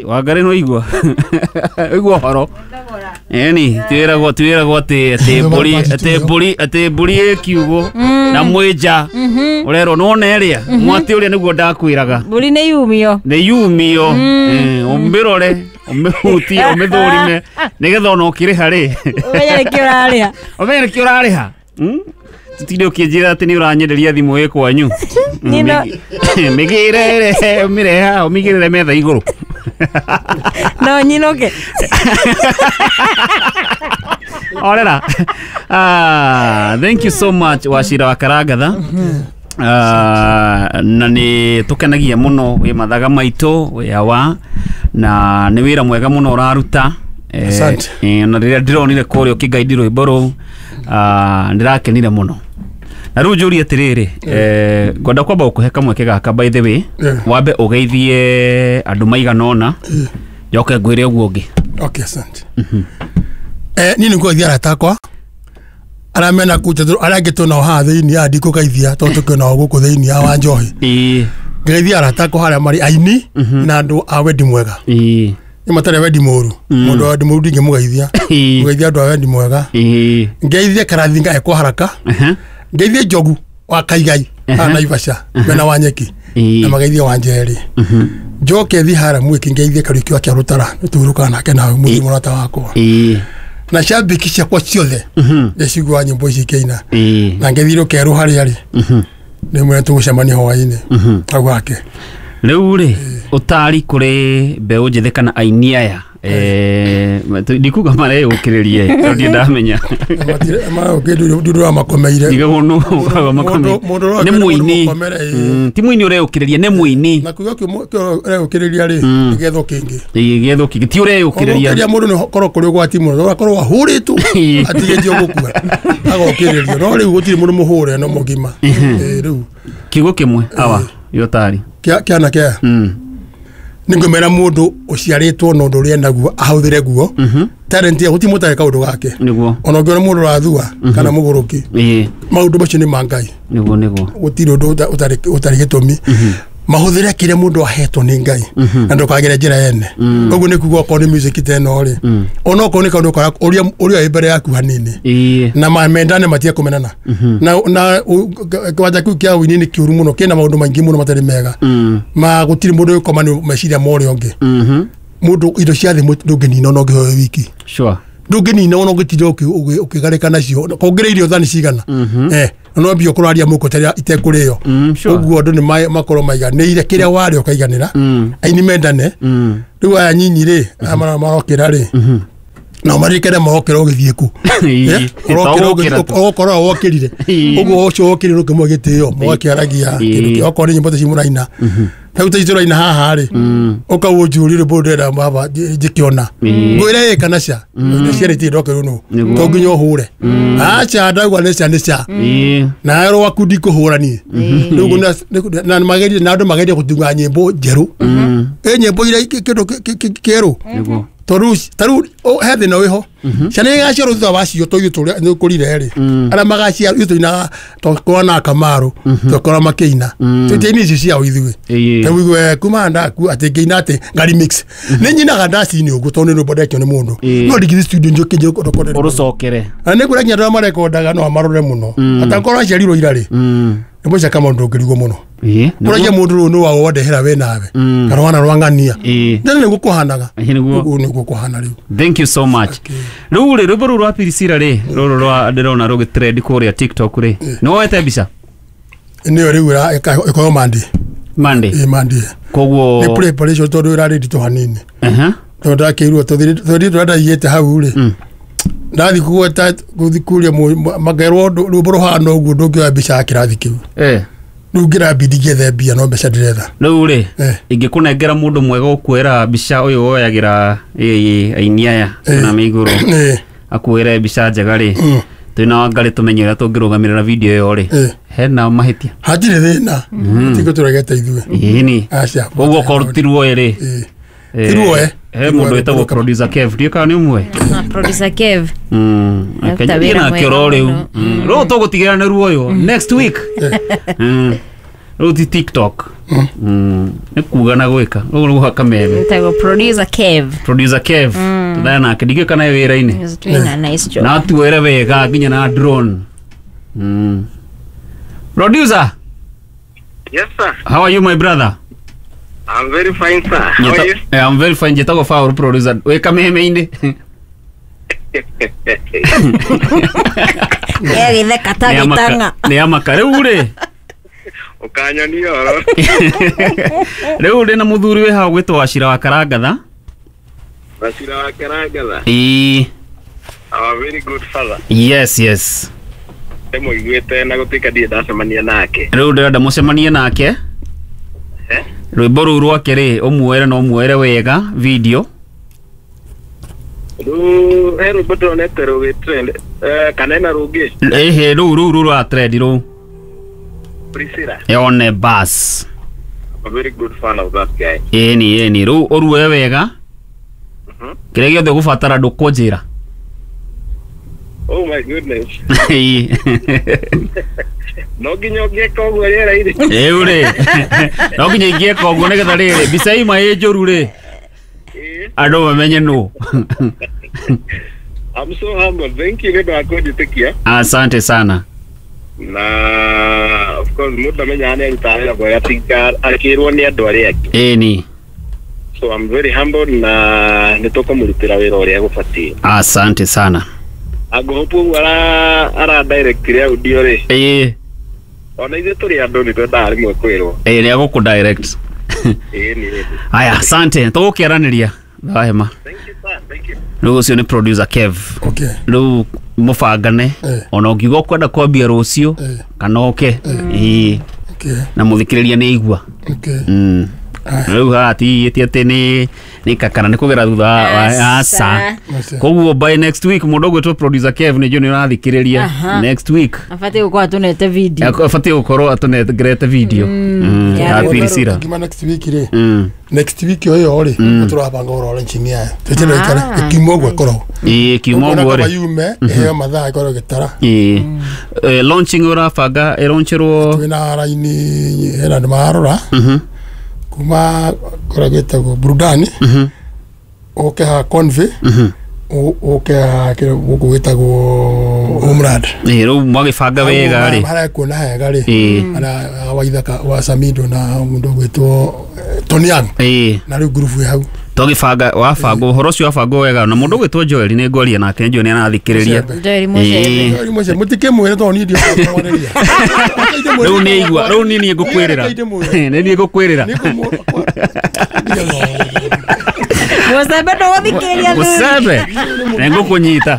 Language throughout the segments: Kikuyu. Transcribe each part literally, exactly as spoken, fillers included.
Wangari no igua igua horo eni twiragwo twiragwo ati ati mburi ati mburi ati mburi ikiugo na mwinja urerwo no neria mwati uria niguo ndakwiraga mburi ni yumio ni yumio umbirore umihutie umithurime nigetha ona ukiriha ri umenye niki urariha umenye niki urariha tutinde ukinjira ati ni uranyenderia thimu ĩ kwanyu migire umireha umigirire metha iguru no nyinoke orera. Ah, thank you so much Wachira wa Karangatha. Ah, na ni tukenagia muno wi mathaga maitu wi awa na ni wira mwega muno uraruta. Asante. Eh, na riria ndironire kuria ukigaidi rwimbo ruu ah ndirakenire muno. Na riu njurie atiriri eh ngwenda kwamba gukuhe kamweke gaka by the way wambe ugeithie andu maigana ona njoke ngwire uguo ungi. Okay, asante. Eh ni niguo arata akwa aria mena kuu aria angĩ twĩnao haha thĩinĩ aya ndikũgeithia tondũ tũkĩonao gũkũ thĩinĩ a Wanjohi. Ĩĩ ngeithia arata akwa harĩa marĩ aini na andũ a wendi mwega. Ĩĩ nĩ matarĩ wendi mũru mũndũ wa wendi mũru ndingĩmũgeithia mũgeithia andũ a wendi mwega. Ĩĩ ngeithie Karathinga ekwo haraka ngeithie Njogu wa Kaigai haha Naivasha mena wa Nyeki na mageithie Wanjeri njoke thi hara mwiki ngeithie Kariuki wa Kĩarũtara nĩtũhurũkaga nake nawe mũthii mũrata wakwa. Ĩĩ na shabiki ciakwa ciothe ndĩciguaga nyĩmbo ici ikĩina na ngeithie Rũkerũ harĩa arĩ nĩ mwene tũgũcemania hwaĩ-inĩ hau hake. Rĩu rĩ ũtari kũrĩ mbeũ njĩthĩ kana aini aya eh ndikuga mareyũkĩrĩrie tondũ ndirĩ ndamenya ndũrĩ wamakomeire nĩ mũini ti mũini ũreyũkĩrĩria nĩ mũini na kuga ũreyũkĩrĩria rĩ gĩetho kĩngĩ gĩetho kĩngĩ ti ũreyũkĩrĩria ũrĩa mũndũ nĩ korwo kũrĩ ũgwati mũno ũgakorwo ahũrĩtwo atigĩtio gũkua agokĩrĩrio no rĩu gũtirĩ mũndũ mũhũre no mũgima rĩu kiugo kĩmwe awa yotari kĩana kĩa ningwemera mundu uciaritwo na undu uria naguo ahuthire guo talent ya guti mutare kaundu gake niguo ona ungiona mundu urathua kana muguruki maundu macio ni ma Ngai niguo niguo gutiri undu utari utari gitumi mahuthire kiria mundu ahetwo ni Ngai na ndukagere njira yene uguo ni kuga okorwo ni music ta ino ri ona okorwo ni kaundu kara uria uria mbere yaku hanini na mendane matie kumenana na na kwanja kiu kia wini ni kiuru muno kina maundu maingi muno matari mega ma gutiri mundu ukoma ni meciria ma uria ungi mundu indo cia thi ndunginina ona ungihoyo wiki sure ndunginina ona ungitinda ukigarika nacio kongere irio thani cigana eh no mbio kuraria muko taria itekuriyo uguo andu ni makorwo maiganire kiria wari ukaiganira aini mendane riu aya nyinyi ri aya marokira ri na marikere marokira ugithie ku urokorwo wokirire uguo ucio wokirire ukimwe gitio mwakiaragia kindu kia okorwo ni nyimbo ta muraina ta ta turaina haha ri ukauo njurire rwimbo ndĩrenda baba njĩkĩona ngwĩre ĩ kana ca indo cierĩ itirĩ ndokĩrwo nũ to nginya ũhũre aca ndauga nĩ ca nĩ ca na rwaku ndikũhũra niĩ rĩu na magerie na andũ magerie gũtunga nyĩmbo njerũ ĩ nyĩmbo iria kĩndũ kĩerũ tondu taru he thĩna wĩho ciana igaciarwo thutha wacio to ithuĩ tũrĩa nĩ ũkũrire rĩ arĩa magaciarwo ithuĩ tũinaga twakorwo na Kamaru twakorwo makĩina tũtiaini icio ciao ithuĩ rĩu igue kuma ndaku atĩ ngĩina atĩ nga remix nĩ nyinaga ndaci-inĩ ũguo tondũ nĩ rwĩmbo ndekio nĩ mũndũ no ndingĩthiĩ studio njoke njoke ũrũcokere na nĩ ngwĩra nginya andũ arĩa marekondaga no amarore mũno atakorwo aciarirwo ira rĩ nyĩmbo cia Kamau ndũngĩrigwo mũno kũragia mũndũ rũu nĩ waũ wandehera we nawe kana wana rwang'ania tene nĩguo kũhanaga ũguo nĩguo kũhana rĩu. Thank you so much. Rĩu rĩ rwĩmbo rũu rwa Priscilla rĩ rũrũ rwa ndĩrona rũgĩ trend kũrĩa TikTok rĩ nĩ woete mbica nĩyo rĩu ĩkorwo Monday Monday ĩ Monday koguo nĩ preparation tondũ ĩrarĩ nditũ hanini tondũ ndakĩirwo tondũ tũrĩa ndaigĩte hau rĩ ndathi kugweta guthi kuria magerwo rwimbo ruhana uguo ndungioya mbica ya kirathi kiu eh riu ngirambindi ngiethe mbia no mbeca ndiretha riu ri ingĩkũnengera mũndũ mwega ũkuoera mbica ũyũ woyagĩra aini aya na mĩigũrũ akuoere mbica njega rĩ twĩna Wangari tũmenye ũrĩa tũngĩrũgamĩrĩra video ĩyo rĩ hena mahĩtia hatirĩ thĩna tiko tũregete ithuĩ ĩni koguo okorwo ti ruoe rĩ ti ruoe he mũndũ wĩtagwo producer Kev ndiũ kana nĩ ũmwe producer Kev mm nake oro rĩu rĩu tũgũtigĩra nĩ ruoyo next week. Rĩu ti TikTok. Mm. Nĩ kuga na gwĩka. Ũguo nĩguo kameme. Ĩtagwo producer Kev. Producer Kev. Tũthaya nake ndingĩũĩ kana e wĩra-inĩ. He's doing a nice job. Na atuere wega nginya na drone. Mm. Producer, Yes, sir. how are you my brother? I'm very fine, sir. How are you? Eh, I'm very fine. Njĩtagwo Paul producer. Wĩ kameme-inĩ. Gĩtheka ta Nĩ amaka- gĩtang'a. Nĩ amaka rĩu rĩ. Ũkanyonia ũhoro. Rĩu ndĩ na mũthuri wĩ hau gwĩtwo Wachira wa Karangatha. Wachira wa Karangatha. Ĩĩ. Our very good father. Yes, yes. Ndĩmũiguĩte na gũtuĩka ndirĩ ndacemania nake. Rĩu ndĩrenda mũcemanie nake. Eh? Rwĩmbo rũu rwake rĩ ũmuoere na ũmuoere wega video. Rĩu he rwĩmbo ndĩronete rũgĩ trend eh, kana ena rũngĩ Ĩhĩ rũu rũu rũu rwa trend rũu. Priscilla. Yone bas. I'm a very good fan of that guy. Ĩni ĩni rĩu ũruoe wega. Mhm. Kĩrĩa gĩothe ũgũbatara ndũkũnjĩra. Oh my goodness. Ĩĩ. No nginya ũngĩka ũguo rĩera-inĩ. Rĩu rĩ. No nginya ingĩeka ũguo nĩgetha rĩrĩ mbica ima ĩ njũru rĩ Ĩĩ. andũ mamenye nũ. I'm so humble. Thank you nĩ ũndũ wa kũnjĩtĩkia. Asante sana. Na of course mũndũ amenyaga nĩ arutaga wĩra mwega tiga akĩrwo nĩ andũ arĩa angĩ. Ĩni. So I'm very humble na nĩ tũkũmũrutĩra wĩra ũrĩa gũbatiĩ. Asante sana. Angũhũpu ũguo ara ara directire audio rĩ. Ĩĩ. Ona ithuĩ tũrĩ andũ nĩ twendaga rĩmwe kwĩrwo. Ĩĩ nĩ agũkũ direct. Ĩĩ nĩ ĩĩ. Aya, asante. Tũgũkĩaranĩria. Thahema. Thank you sir, thank you. Rĩu ũcio nĩ producer Kev. Okay. Rĩu mũbangane Eh. ona ũngiuga ũkwenda kwambia rũciũ Eh. kana ũke. Ĩĩ. Okay. Na mũthikĩrĩria nĩ aigua. Okay. Mm. Aya. Rĩu haha ti ti atĩ nĩ nĩ kakana nĩ kũgera thutha wa aca. Aca. Aca. Koguo by next week mũndũ ũgwĩtwo producer Kev nĩ njũĩ nĩ ũrathikĩrĩria Aha. next week. Abatiĩ gũkorwo atũnete video. Abatiĩ gũkorwo atũnengerete video. Mm. Ya Ya rwĩmbo Priscilla. Ngima next week rĩ. Mm. Next week ĩyo ĩyo rĩ tũrabanga ũhoro launching yayo. Twĩtĩre ikare Ah. ĩkiuma ũguo ĩkoragwo. Ĩĩ kiuma ũguo Kaba rĩ. yume ĩheo mathaa ĩkorwo ĩgĩtara. Ĩĩ. Eh, launching ũrabanga ĩlaunchĩrwo Twĩna raini hena andũ mararora Mhm. kuma kũrĩa gwĩtagwo Burudani Mhm. ũke ha Convey Mhm. ũ- ũke ha kĩrĩa gũkũ gwĩtagwo Homeland. Ĩĩ rĩu mwagĩbanga wega rĩ. Harĩa kuona hega rĩ Ĩĩ. harĩa waithaka wa Samido na mũndũ ũgwĩtwo eh, Tony Young Ĩĩ. na rĩu ngurubu ĩ hau. Twagĩbanga wabangwo ũhoro ũcio wabangwo wega na mũndũ ũgwĩtwo Joel nĩ ngwaria nake njũĩ nĩ arathikĩrĩria. Mũcembe. Joel Mũcembe. Ĩĩ. Joel Mũcembe mũtikĩmwĩre tondũ niĩ ndiũĩ Rĩu nĩ aigua rĩu nĩ niĩ ngũkwĩrĩra. Nĩ niĩ ngũkwĩrĩra. Mũcembe ndũgũthikĩrĩria thuri. Mũcembe nĩ ngũkũnyita.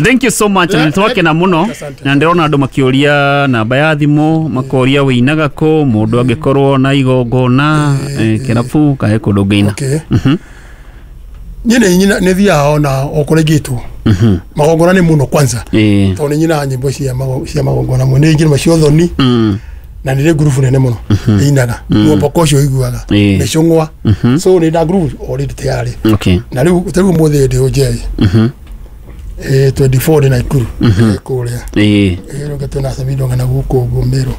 Thank you so much na nĩtwakena mũno Asante. na ndĩrona andũ makĩũria namba ya thimũ makoria wĩinaga kũ mũndũ angĩkorwo na igongona eh, kĩrabu kahe kũndũ ũngĩina. Okay. Mhm. Niĩ nĩ nyina nĩ thiaga ona o kũrĩa ingĩtwo Mhm. magongona nĩ mũno kwanza Ĩĩ. tondũ nĩ nyinaga nyĩmbo cia mago- cia magongona mũno nĩ nyĩmbo cia ũthoni Mm. na nĩ rĩ ngurubu nene mũno ĩinaga mwamboko ũcio ũiguaga Ĩĩ. mĩcũng'wa so nĩ nda ngurubu already tayari Okay. na rĩu ta rĩu ũmũthĩ ndĩ Ũnjeri Mhm. eh twenty-four ndĩ Naikuru eh, kũrĩa Ĩĩ. ĩrũge twĩna Samido ng'ana gũkũ ũguo Meru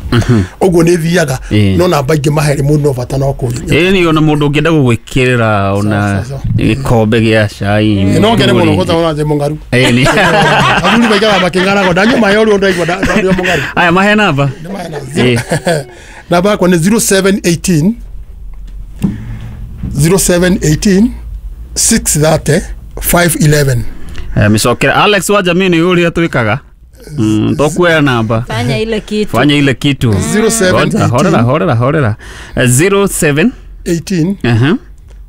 ũguo nĩ thiaga Ĩĩ. no namba ingĩ mahere mũno bata no kũria Ĩĩ nĩ ona mũndũ ũngĩenda gũgwĩkĩrĩra ona Sawa, sawa. gĩkombe gĩa cai. no ngene mũno gũta ona ndĩ mũng'aru Ĩĩ nĩ. athuri maikaraga makĩng'arago ndanyua maĩ o rĩo ndaigua nda- ndĩ o mũng'aru Aya mahe namba. Nĩ maĩ na Ĩĩ. zero- namba yakwa nĩ zero seven eighteen zero seven eighteen six thirty five eleven. Eh, mĩcokere Alex wa jamii nĩ ũrĩa twĩkaga. Mm, tokuoya namba. Fanya ile kitu. Fanya ile kitu. Zero seven Ngoja, horera eighteen horera horera. Eh, zero seven eighteen uh-huh.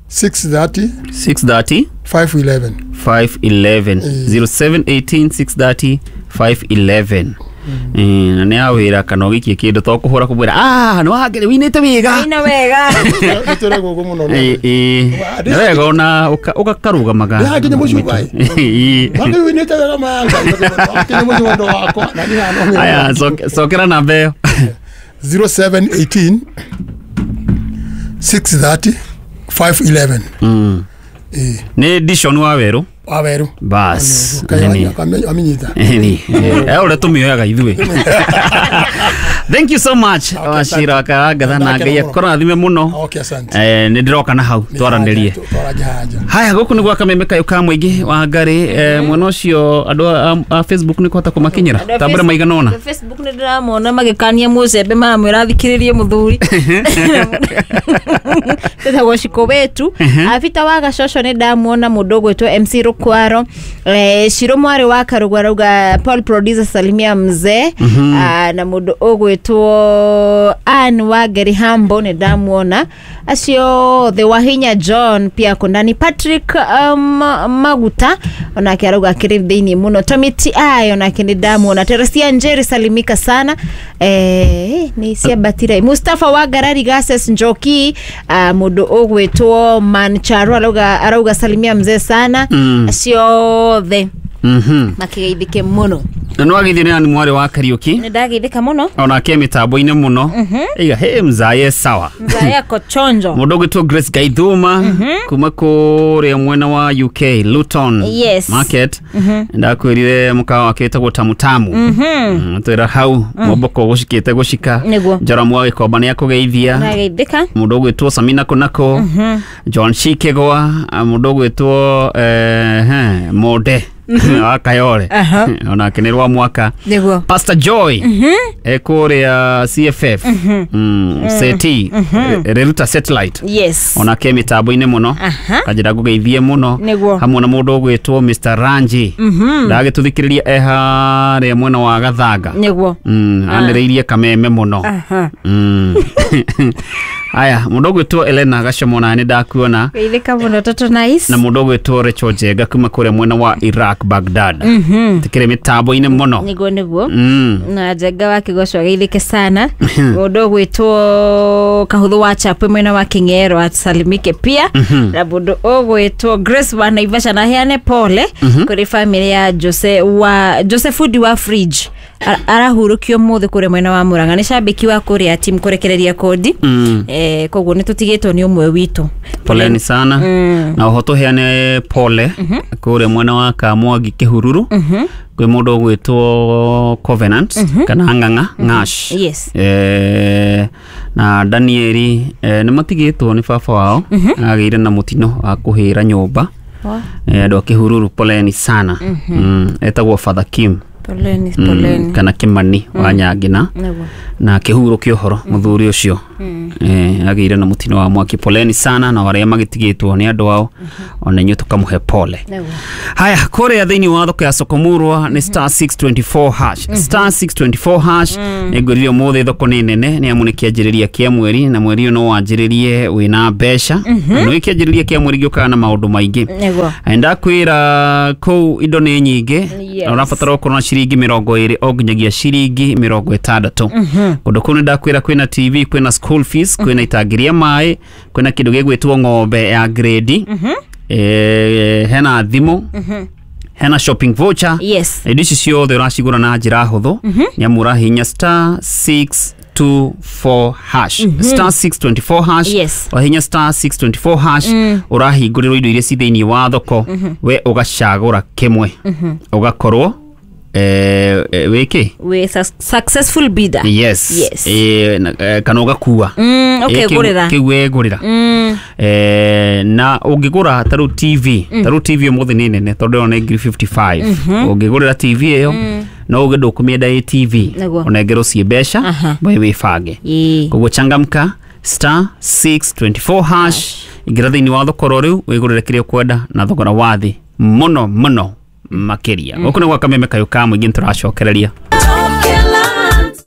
six thirty six thirty five eleven. five eleven. Mm. Zero seven eighteen six thirty five eleven. Eh, na nĩ awĩra kana ũgĩikie kĩndũ to kũhũra kũmwĩra ah nĩ wangere wĩinĩte wega. Ina wega. Nĩ tũregwo ũguo mũno Ĩĩ, ĩĩ. Nĩ wega ona ũka- ũgakarũgamaga. Nĩ hakinya mũciĩ ũgai. Ĩĩ. Wangĩ wĩinĩte wega maya Ngai kinya mũciĩ wendo wakwa na niĩ haha no Aya, ng'endo. coke- cokera namba ĩyo. zero seven eighteen six thirty five eleven. Mm. Ĩĩ. Nĩ Dishon wa werũ. Waweru. Bas. Aminyita. Ĩni. Eh ũrĩa tũmĩoyaga ithuĩ. Thank you so much. Wachira wa Karangatha na Ngai akũrathime mũno. Okay, asante. Eh nĩ ndĩroka na hau twaranĩrie. Twaragia haja. Haya gũkũ nĩ gwa kameme kayũ ka mũingĩ wa Ngarĩ eh, mwena ũcio andũ a- a Facebook nĩ kũhota kũmakinyĩra tambũra maigana ũna. Andũ a Facebook nĩ ndĩramona magĩkania mũcembe maramwĩra athikĩrĩrie mũthuri tetagwo Shiko wetu abita wa gacoco nĩ ndamuona mũndũ ũgwĩtwo M C Rukwaro eh, Shiro mwarĩ wa Karũgũ arauga Paul producer salimia mzee. Ah, na mũndũ ũgwĩtwo Ann wa Ngeri Hambo nĩ ndamuona acio othe Wahinya John pia kundani Patrick um, Maguta onake arauga akĩrĩ thĩinĩ mũno Tommy T I onake nĩ ndamuona Teresia Njeri salimika sana eh, nĩ ciambatire Mustafa wa Ngarari Gases Njoki uh, mũndũ ũgwĩtwo Mancharo arauga arauga salimia mzee sana Mm. acio othe Mhm. makĩgeithĩke mũno Na nĩ wageithio nĩ Ann mwarĩ wa Kariũki nĩ ndageithĩka mũno onake mĩtambo-inĩ mũno. Iga he mzaye sawa. mzee ako chonjo Mũndũ ũgwĩtwo Grace Gaithuma kuma kũrĩa mwena wa U K Luton Yes. Market ndakwĩrire mũkawa wake wĩtagwo Tamutamu mm, twĩra hau momboko gũcikĩte gũcika Nĩguo. Njoramu wa Gĩkomba nĩ akũgeithia ndageithĩka mũndũ ũgwĩtwo Samina Kunako John Shikegwa mũndũ ũgwĩtwo eh, he, Monde wa Kayole Aha. onake nĩ rwa mwaka nĩguo Pastor Joy ekũrĩa C F F mm, seti Reruta Satellite yes onake mĩtambo-inĩ mũno Aha. kanjĩra ngũgeithie mũno Nĩguo. hamwe na mũndũ ũgwĩtwo Mister Ranji ndagĩtũthikĩrĩria e harĩa mwena wa Gathanga nĩguo Mm, anĩrĩirie kameme mũno Aha. Mm. Aya mũndũ ũgwĩtwo Elena Gacomo na nĩ ndakuona geithĩka mũno toto nice na mũndũ ũgwĩtwo Rachel Njenga kuma kũrĩa mwena wa Iraq Baghdad tikĩrĩ mĩtambo-inĩ mũno nĩguo nĩguo Mm. na Njenga wa Kĩgoco ageithĩke sana mũndũ ũgwĩtwo Kahũthũ wa Chapwe mwena wa Kĩng'ero asalimike pia na mũndũ ũgwĩtwo Grace wa Naivasha na aheane pole kũrĩ famĩlĩ ya Jose wa Jose Fundi wa fridge arahurũkio mũthĩ kũrĩa mwena wa Murang'a nĩ cambĩki wa kũrĩa team kũrekereria kodi Mm. eh, koguo nĩ tũtigĩtwo nĩ ũmwe witũ Poleni sana na oho tũheane pole kũrĩa mwena wa Kamwangi Kĩhururu kwĩ mũndũ ũgwĩtwo Covenant kana Ng'ang'a Ng'ash Yes. eh, na Danieli eh, nĩ matigĩtwo nĩ baba wao agĩire na mũtino wa kũhĩra nyũmba eh, andũ a Kĩhururu poleni sana mm, etagwo Father Kim poleni Mm, poleni kana Kimani wa Nyangina nĩguo na kĩhuro kĩa ũhoro mũthuri ũcio eh, agĩire na mũtino wa mwaki poleni sana na arĩa magĩtigĩtwo nĩ andũ ao ona inyuĩ tũkamũhe pole nĩguo haya kũrĩa thĩinĩ wa thoko ya Sokomurwa nĩ star six twenty-four hash star six twenty-four hash nĩ ngwĩrire ũmũthĩ thoko nĩ nene nĩ amu nĩ kĩanjĩrĩria kĩa mweri na mweri ũyũ no wanjĩrĩrie wĩna mbeca na nĩ kĩanjĩrĩria kĩa mweri gĩũkaga na maũndũ maingĩ nĩguo ndakwĩra kũu indo nĩ nyingĩ Yes. na ũrabatara gũkorwo na ciringi mĩrongo ĩrĩ o nginyagia ciringi mĩrongo ĩtandatũ kũndũ kũu nĩ ndakwĩra kwĩna T V kwĩna school fees kwĩna itangi rĩa maĩ kwĩna kĩndũ gĩgwĩtwo ng'ombe ya grade eh, hena thimũ hena shopping voucher Yes. indo ici ciothe ũracigũra na njĩra hũthũ nĩ amu ũrahihinya star six two four hash star six twenty-four hash Yes. wahinya star six twenty-four hash ũrahingũrĩrwo indo iria ci thĩinĩ wa thoko we ũgacagũra kĩmwe ũgakorwo eh, eh, wĩkĩ we su- successful bidder yes, Yes. Eh, na- eh, kana ũgakua Mm, Eh, kĩu- ũkegũrĩra kĩu wegũrĩra Mm, eh, na ũngĩgũra ta rĩu T V ta rĩu T V ũmũthĩ nĩ nene tondũ ĩyo nĩ ngiri fifty-five ũngĩgũrĩra T V ĩyo no uge ndũkũmĩenda ĩ T V Nĩguo. ũnengerwo ciĩ mbeca Aha. we wĩbange ĩĩ. koguo changamka star six twenty-four hash ingĩra thĩinĩ wa thokoro rĩu wĩgũrĩre kĩrĩa ũkwenda na thogora wa thĩ mũno mũno makĩria gũkũ nĩ gwa kameme kayũ ka mũingĩ nĩtũracokereria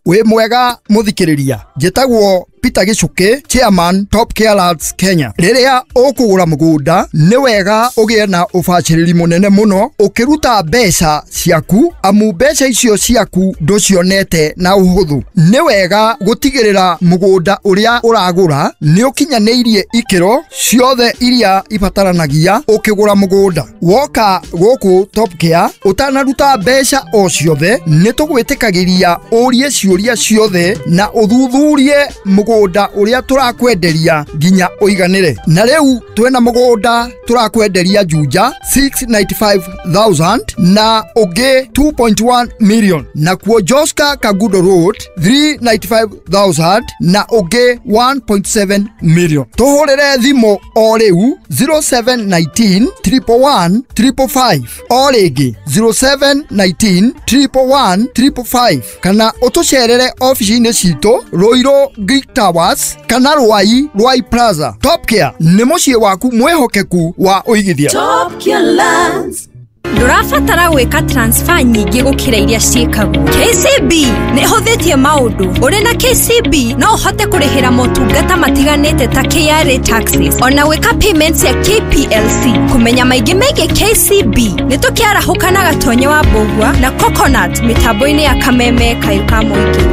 Wĩ mwega mũthikĩrĩria, njĩtagwo Peter Gĩcukĩ, chairman Top Care Lands Kenya. Rĩrĩa ũkũgũra mũgũnda nĩ wega ũgĩe na ũbacĩrĩri mũnene mũno ũkĩruta mbeca ciaku, amu mbeca icio ciaku ndũcionete na ũhũthũ. Nĩ wega gũtigĩrĩra mũgũnda ũrĩa ũragũra nĩ ũkinyanĩirie ikĩro ciothe iria ibataranagia ũkĩgũra mũgũnda. Woka gũkũ Top Care ũtanaruta mbeca o ciothe nĩ tũgwĩtĩkagĩria ũrie ciũria ciothe na ũthuthurie mũgũnda mũgũnda ũrĩa tũrakwenderia nginya ũiganĩre. Na rĩu twĩna mũgũnda tũrakwenderia Juja six ninety-five thousand na ũngĩ two point one million, nakuo Joska Kagudo Road three ninety-five thousand na ũngĩ one point seven million. Tũhũrĩre thimũ o rĩu zero seven nineteen triple one triple five, o rĩngĩ zero seven nineteen triple one triple five, kana ũtũcerere ofici-inĩ citũ Ruiru Greek Towers kana Ruai Ruai Plaza. Top Care nĩ mũciĩ waku mwĩhokeku wa ũigithia. Top Care Lands. Ndũrabatara gwĩka transfer nyingĩ gũkĩra iria ciĩkagwo. K C B nĩ ĩhũthĩtie maũndũ. Ũrĩ na K C B no ũhote kũrĩhĩra motungata matiganĩte ta K R A taxes, ona gwĩka payments ya K P L C. Kũmenya maingĩ megiĩ K C B nĩ tũkĩarahũka na Gatonye wa Mbũgua na Coconut mĩtambo-inĩ ya Kameme Kayũ ka Mũingĩ.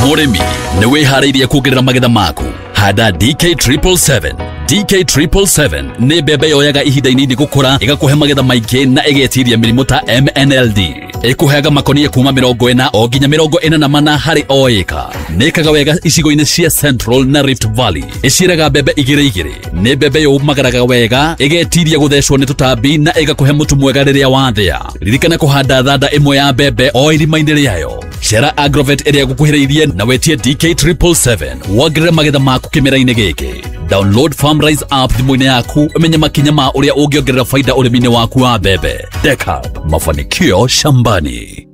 Mũrĩmi nĩ wĩharĩirie kuongerera magetha maku. Handa D K triple seven. D K triple seven nĩ mbembe yoyaga ihinda inini gũkũra, ĩgakũhe magetha maingĩ na ĩgetiria mĩrimũ ta M N L D. Ĩkũheaga makonia kuma mĩrongo ĩna o nginya mĩrongo ĩna na mana harĩ o ĩka. Nĩ ĩkaga wega icigo-inĩ cia Central na Rift Valley. Ĩciaraga mbembe igĩrĩ igĩrĩ. Nĩ mbembe yũmagaraga wega, ĩgetiria gũthecwo nĩ tũtambi na ĩgakũhe mũtu mwega rĩrĩa wathĩa. Ririkana kũhanda thanda ĩmwe ya mbembe o irima-inĩ rĩayo. Cera Agrovet ĩrĩa gũkuhĩrĩirie na wetie D K triple seven wongerere magetha maku kĩmera-inĩ gĩkĩ. Download FarmRise app thimũ-inĩ yaku ũmenye makinya ma ũrĩa ũngĩongerera faida ũrĩmi-inĩ waku wa mbembe. Dekab, mafanikio shambani.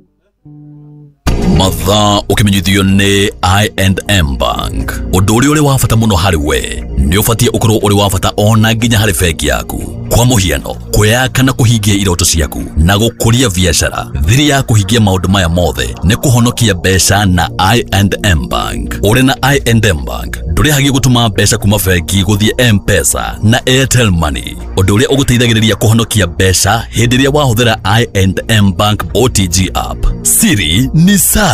Mathaa ũkĩmenyithio nĩ I and M Bank. Ũndũ ũrĩa ũrĩ wa bata mũno harĩ we nĩ ũbatiĩ ũkorwo ũrĩ wa bata ona nginya harĩ bengi yaku. Kwa mũhiano, kwĩyaka na kũhingia iroto ciaku na gũkũria biacara. Thiri ya kũhingia maũndũ maya mothe nĩ kũhonokia mbeca na I and M Bank. Ũrĩ na I and M Bank ndũrĩhagia gũtũma mbeca kuma bengi gũthiĩ M-Pesa na Airtel Money, ũndũ ũrĩa ũgũteithagĩrĩria kũhonokia mbeca hĩndĩ ĩrĩa wahũthĩra I and M Bank O T G app. Siri ni sare.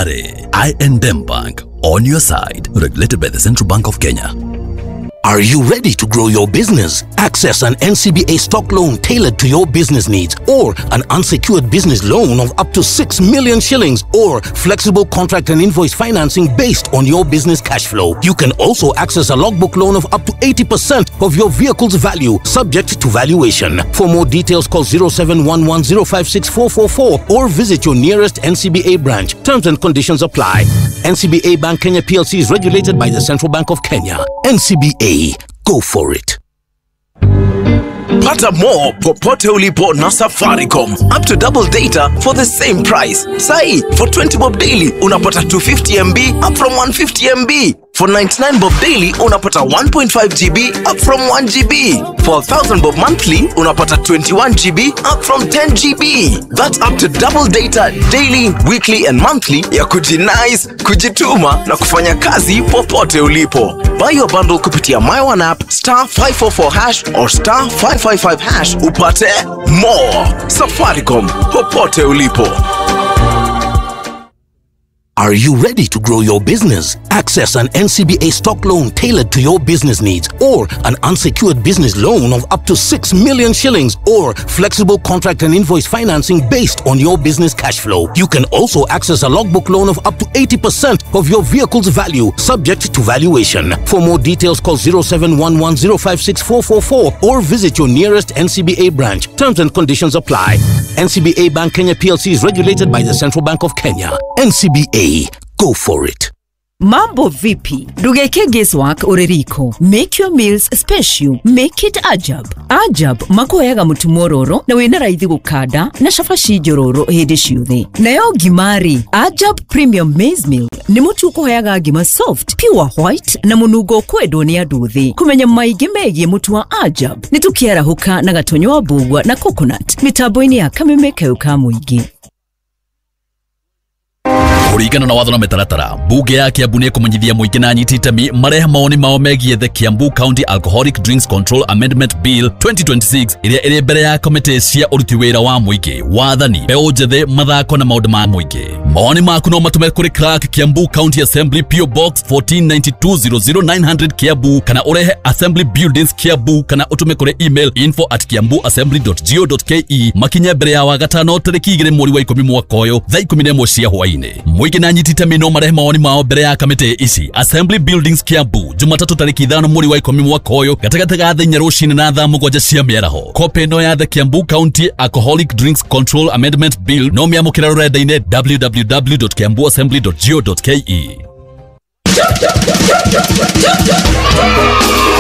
I and M Bank, on your side. Regulated by the Central Bank of Kenya. Are you ready to grow your business? Access an N C B A stock loan tailored to your business needs, or an unsecured business loan of up to six million shillings, or flexible contract and invoice financing based on your business cash flow. You can also access a logbook loan of up to eighty percent of your vehicle's value, subject to valuation. For more details, call zero seven one one zero five six four four four or visit your nearest N C B A branch. Terms and conditions apply. N C B A Bank Kenya P L C is regulated by the Central Bank of Kenya. N C B A. Go for it. Pata more popote ulipo na Safaricom. Up to double data for the same price. Sai, for twenty bob daily unapata two fifty M B up from one fifty M B. For ninety-nine bob daily unapata one point five G B up from one G B. For one thousand bob monthly unapata twenty-one G B up from ten G B. That's up to double data daily, weekly and monthly ya kujinice, kujituma na kufanya kazi popote ulipo. Buy your bundle kupitia My One app, star five four four hash or star five five five hash upate more. Safaricom, popote ulipo. Are you ready to grow your business? Access an N C B A stock loan tailored to your business needs, or an unsecured business loan of up to six million shillings, or flexible contract and invoice financing based on your business cash flow. You can also access a logbook loan of up to eighty percent of your vehicle's value, subject to valuation. For more details, call zero seven one one zero five six four four four or visit your nearest N C B A branch. Terms and conditions apply. N C B A Bank Kenya P L C is regulated by the Central Bank of Kenya. N C B A. Go for it. Mambo vipi? Ndugeke guesswork uri riko. Make your meals special. Make it ajab. Ajab makuheaga mutu mwororo na wina raithi gukanda na cabaci njororo hindi ciothe. Nayo ngimari Ajab Premium Maize Meal ni mutu ukuheaga ngima soft, pure white na munungo kwendwo ni andu thi. Kumenya maingi megie mutu wa Ajab ni tukiarahuka na Gatonyo wa Mbugua na Coconut mitambo-ini ya Kameme Kayũ ka Mũingĩ. Kũringana na watho na mĩtaratara, mbunge ya Kiambu nĩ ĩkũmenyithia mũingĩ na anyiti itemi marehe mawoni mao megiĩ the Kiambu County Alcoholic Drinks Control Amendment Bill twenty twenty-six ĩrĩa ĩrĩ mbere ya kamĩtĩ cia ũruti wĩra wa mũingĩ, wathani, mbeũ njĩthĩ, mathako na maũndũ ma mũingĩ. Mawoni maku no matũme kũrĩ Clerk Kiambu County Assembly P O Box fourteen ninety-two zero zero nine hundred Kiambu, kana ũrehe Assembly Buildings Kiambu, kana ũtũme kũrĩ email info at kiambu assembly dot go dot ke makinye mbere ya wagatano tarĩki igĩrĩ mweri wa ikũmi mwaka ũyũ thaa ikũmi na ĩmwe cia hwaĩ-inĩ. Mũingĩ na anyiti itemi no marehe mawoni mao mbere ya kamĩtĩ ici. Assembly Buildings Kiambu, Jumatatũ tarĩki ithano mweri wa ikũmi mwaka ũyũ gatagatĩ ga thaa inya rũcinĩ na thaa mũgwanja cia mĩaraho. Kopĩ ĩno ya The Kiambu County Alcoholic Drinks Control Amendment Bill no mĩamũkĩre rũrenda-inĩ w w w dot kiambu assembly dot go dot k e.